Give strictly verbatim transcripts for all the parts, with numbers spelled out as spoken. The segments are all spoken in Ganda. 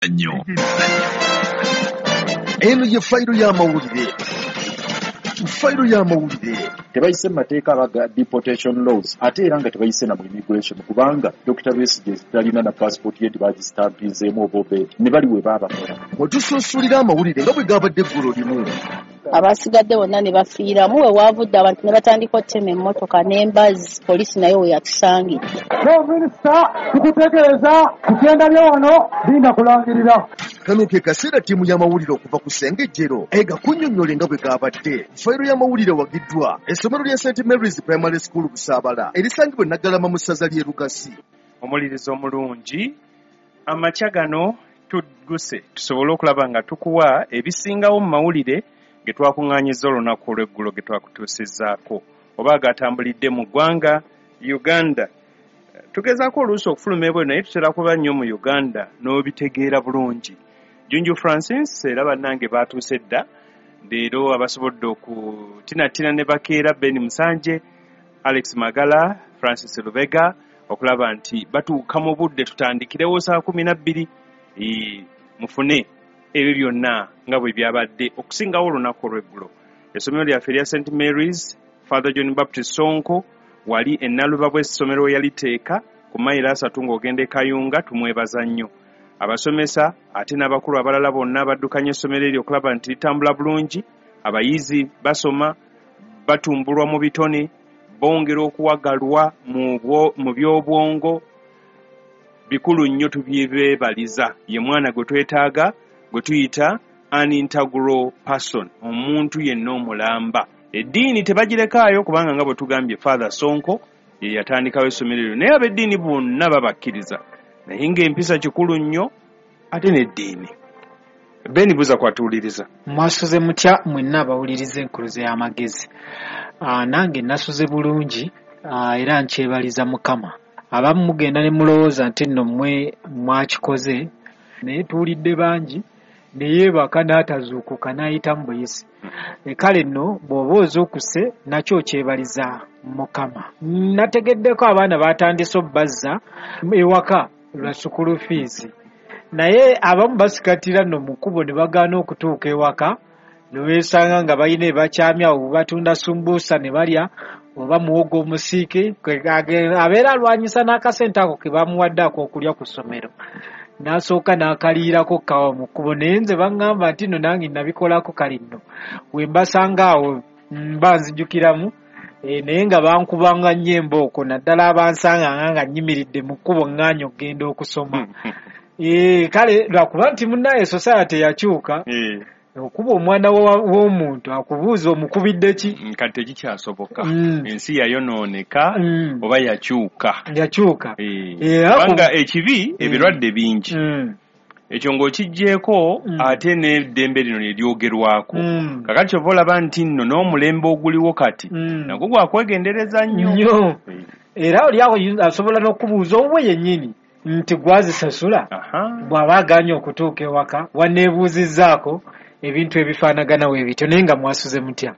Nnyo. Eno ye fayiro y'amawulire, fayiro y'amawulire. Tebayise mu mateeka abaga deportation laws, ate era nga tebayise na mu immigration, kubanga Doctor Besigye talina na passport ye, tebagisitampizeemu oba obedi ne bali we baabakola. Mwe tusunsulira amawulire nga bwe gabadde eggulo limu. Abasigadde bonna ne bafiiramu. We waavudde abantu ne batandika okutema emmotoka n'embazzi, poliisi nayo we yatusangidde. Minisita, tukutegeeza kukyenda bye wano linda kulangirira. Kano ke kaseera ttiimu y'amawulire okuva ku Ssengejjero ega kunnyonnyola nga bwe gabadde. Fayiro y'amawulire wagiddwa essomero lya Saint Mary's Primary School Busaabala, erisangibwa e Naggalama mu ssaza ly'e Lugasi. Omulirizo omulungi, amakya gano tugguse tusobole okulaba nga tukuwa ebisingawo mu mawulire ge twakuŋŋaanyiza olunaku olw'eggulo, ge twakutuusizzaako oba agatambulidde mu ggwanga Uganda. Tugezaako oluusi okufuluma ebweru, naye tutera kuba nnyo mu Uganda n'obitegeera bulungi. Junju Francis era bannange baatuuse dda leero, abasobodde okutinatina ne bakeera, Ben Musanje, Alex Magala, Francis Lubega, okulaba nti batuuka mu budde tutandikirewo saa kumi na bbiri, mufune ebyo byonna nga bwe byabadde okusingawo olunaku olw'eggulo. Essomero lyaffe erya Saint Mary's, Father John Baptist Sonko wali ennaluba bw'essomero we yaliteeka ku mayiro asatu ng'ogenda e Kayunga, tumwebaza nnyo. Abasomesa ate n'abakulu abalala bonna baddukanya essomero eryo okulaba nti litambula bulungi, abayizi basoma, batumbulwa mu bitone, bongera okuwagalwa mu by'obwongo. Bikulu nnyo, tubyebeebaliza. Ye mwana gwe twetaaga, gwe tuyita an integral person, omuntu yenna omulamba. Eddiini tebagirekaayo, kubanga nga bwe tugambye, Father Sonko ye yatandikawo essomero eryo, naye ab'eddiini bonna babakkiriza, naye ng'empisa kikulu nnyo ate n'eddiini. Ben, buza kwatuwuliriza. Mwasuze mutya mwenna abawuliriza Enkuluze y'Amagezi? Aa, nange nasuze bulungi, aa, era nkyebaliza Mukama. Abamu mugenda ne mulowooza nti nno mmwe mwakikoze, naye tuwulidde bangi ne yeebaka n'atazuukuka n'ayitamu buyisi. E, kale nno bw'oba ozuukuse nakyo okyebaliza Mukama. Nategeddeko abaana batandise obbazza ewaka lwa school fees, naye abamu basikatira nno mu kkubo ne bagaana okutuuka ewaka, ne weesanga nga balina ebakyamya awo, batunda sumbuusa ne balya oba muwogo omusiike. Abeera alwanyisa n'akasente ako ke bamuwadde ak'okulya ku ssomero, n'asooka n'akaliirako kawa mu kkubo. Naye nze baŋŋamba nti nno nange nabikolako. Kale nno we mbasanga awo mba nzijukiramu, e, naye nga bankubanga nnyo embooko, naddala abansanganga nga nnyimiridde mu kkubo ŋŋaanya okugenda okusoma. E, kale lwakuba nti munnaye society yakyuka, okuba omwana w'omuntu akubuuza omukubidde ki? Mm, kati tekikyasoboka. Mm. Ensi yayonooneka Mm. oba yakyuka. Yakyuka. Eh, Eh, kubanga ekibi, ebirwadde bingi. Mm. Ekyo ng'okiggyeeko, Mm. ate n'eddembe lino ne lyogerwako. Mm. Kakati kyova olaba nti nno n'omulembe oguliwo kati Mm. nagwo gwakwegendereza nnyo. Nnyo. Eh, era oli awo asobola n'okubuuza owuwe yennyini nti gwazisasula, aha. bw'aba aganye okutuuka ewaka waneebuuzizzaako ebintu ebifaanagana we bityo. Naye nga mwasuze mutya?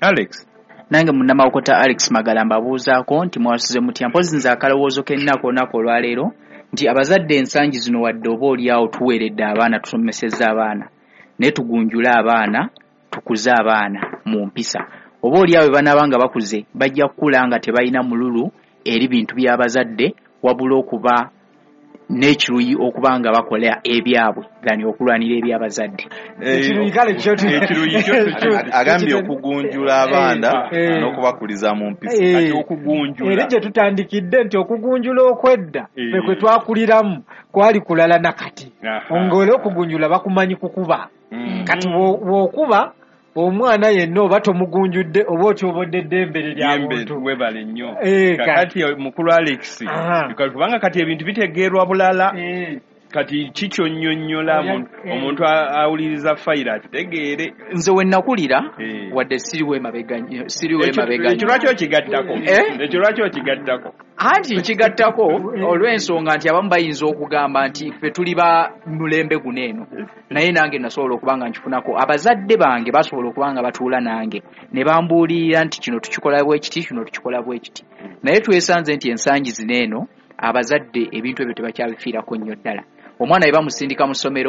Alex. Nange munnamawokota Alex Magala mbabuuzaako nti mwasuze mutya? Mpozi nze akalowoozo k'ennaku olunaku olwaleero nti abazadde ensangi zino, wadde oba oliawo tuweeredde abaana, tusomesezza abaana, naye tugunjule abaana, tukuze abaana mu mpisa. Oba oliawo bwe banaaba nga bakuze, bajja kukula nga tebalina mululu eri bintu by'abazadde, wabula okuba n'ekiruyi okuba nga bakola ebyabwe than okulwanira eby'abazadde. Ekiruyi kale kyo tu- Ekiruyi kyo kyo- Agambye okugunjula abaana Eh. n'okubakuliza mu mpisa. Eh. Kati okugunjula. Era gye tutandikidde nti okugunjula okwedda Eh. ffe kwe twakuliramu kwali kulala nakati. Aha. Ng'era okugunjula bakumanyi kukuba. Mm. Kati bw'o- bw'okuba omwana yenna oba tomugunjudde oba otyobodde eddembe lye lya Yembe, muntu. Webale nnyo. Eh, Kakati mukulu Alex, Aha. kubanga kati ebintu bitegeerwa bulala. Eh. Kati kikyonnyonnyola Eh. omuntu awuliriza fayiro akitegeere. Nze we nakulira, Eh. wadde siriwo emabega nnyo- siriwo Ekyo emabega ekyo nnyo. lwaki okigattako? Eh? Ekyo lwaki okigattako? Anti nkigattako olw'ensonga nti abamu bayinza okugamba nti ffe tuli ba mulembe guno eno, naye nange nasobola okuba nga nkifunako. Abazadde bange basobola okuba nga batuula nange ne bambuulirira nti kino tukikola bwe kiti, kino tukikola bwe kiti, naye twesanze nti ensangi zino eno abazadde ebintu ebyo tebakyabifiirako nnyo ddala. Omwana bwe bamusindika mu ssomero.